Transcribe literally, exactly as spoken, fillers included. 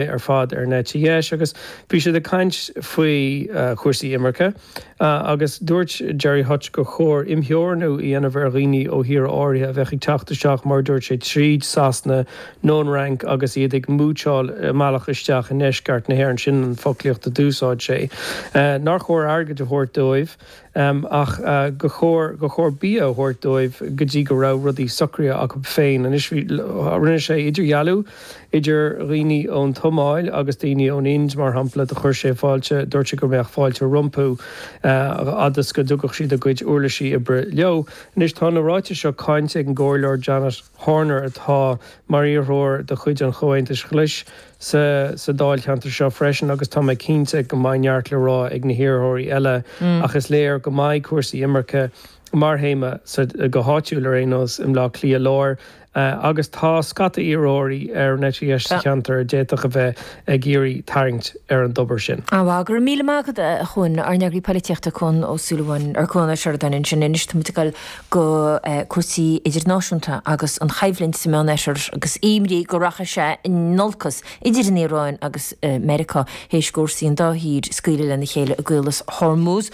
Ar fad ar an eite dheis agus bhí siad ag caint faoi chúrsaí imirce agus dúirt Gerry Hutch gur chóir imtheorannú a dhéanamh ar dhaoine ó thíortha áirithe a bheadh ag teacht isteach, mar a dúirt sé, tríd Sasana nó an Fhrainc agus iad ag múitseáil a mbealach isteach i ndeisceart na hÉireann, sin an foclaíocht a d'úsáid sé. Nár chóir airgead a thabhairt dóibh ach gur chóir gur chóir bia a thabhairt dóibh go dtí go raibh rudaí socraithe acu féin. Anois bhí rinne sé idirdhealú idir dhaoine ón tSomáil agus daoine ón Ind, mar shampla. Do chuir sé fáilte, dúirt sé go mbeadh fáilte rompu fhad is go dtugadh siad a gcuid uirlisí oibre leo. Anois tá na ráitis seo cáinte ag an gComhairleoir Janet Horner atá mar iarrthóir de chuid an Chomhaontais Ghlais sa sa dáilcheantar seo freisin agus tá mé cinnte go mbeidh neart le rá ag na hiarrthóirí eile ach is léir go mbeidh cúrsaí imirce mar théama sa go háitiúil ar aon nós i mBleá Cliath Láir agus tá scata iarrthóirí ar an eite dheis sa cheantar a d'fhéadfadh a bheith ag iarraidh tarraingt ar an dtobar sin. Á, go raibh míle maith agat, a Chuain, ár n-eagraí polaitíochta Cuan Ó Súilleabháin, ar Cuan Ó Seireadáin ansin. Anois tá muid ag dul go cúrsaí idirnáisiúnta agus an choimhlint sa Meánoirthear agus imní go rachaidh sé in olcas idir an Iaráin agus Meiriceá théis fórsaí an dá thír scaoileadh lena chéile i gCaolas Hormuz.